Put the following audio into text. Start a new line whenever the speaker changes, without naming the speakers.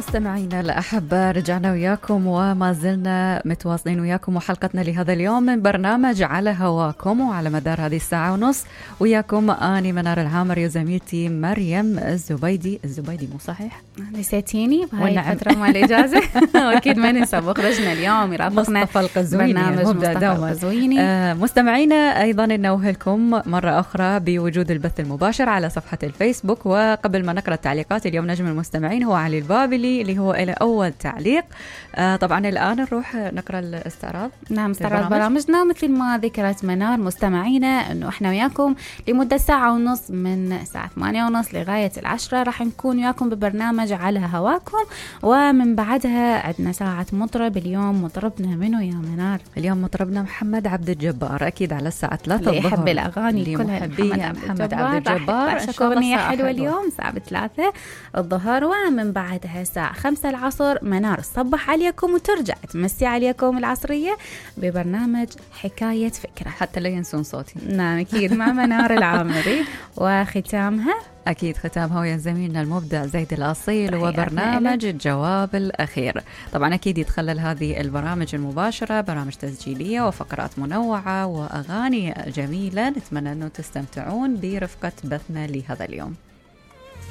مستمعينا الأحبة، رجعنا وياكم وما زلنا متواصلين وياكم، وحلقتنا لهذا اليوم من برنامج على هواكم، وعلى مدار هذه الساعة ونص وياكم أني منار العامري وزميلتي مريم الزبيدي. مو صحيح؟
نسيتيني بهاي الفترة مال الإجازة. أكيد ما ننسى، بخرجنا اليوم يرافقنا
مصطفى القزويني،
برنامج مصطفى القزويني.
مستمعينا أيضا ننوهلكم مرة أخرى بوجود البث المباشر على صفحة الفيسبوك. وقبل ما نقرأ التعليقات اليوم، نجم المستمعين هو علي البابلي اللي هو إلى أول تعليق. طبعا الآن نروح نقرأ الاستعراض.
نعم، استعراض برامجنا مثل ما ذكرت منار مستمعينا أنه إحنا وياكم لمدة ساعة ونص، من الساعة 8:30 لغاية 10 راح نكون وياكم ببرنامج على هواكم. ومن بعدها عندنا ساعة مطرب. اليوم مطربنا منو يا منار؟
اليوم مطربنا محمد عبد الجبار، أكيد على الساعة 3
اللي يحب الأغاني كلها
محمد عبد الجبار.
إن شاء الله أغنية حلوة اليوم الساعة 3 الظهر. ومن بعدها الساعة 5 العصر منار تصبح عليكم وترجع تمسي عليكم العصرية ببرنامج حكاية فكرة،
حتى لا ينسون صوتي.
نعم أكيد، مع منار العامري. وختامها
ويا زميلنا المبدع زيد الأصيل، وبرنامج الجواب الأخير. طبعا أكيد يتخلل هذه البرامج المباشرة برامج تسجيلية وفقرات منوعة وأغاني جميلة. نتمنى أنه تستمتعون برفقة بثنا لهذا اليوم.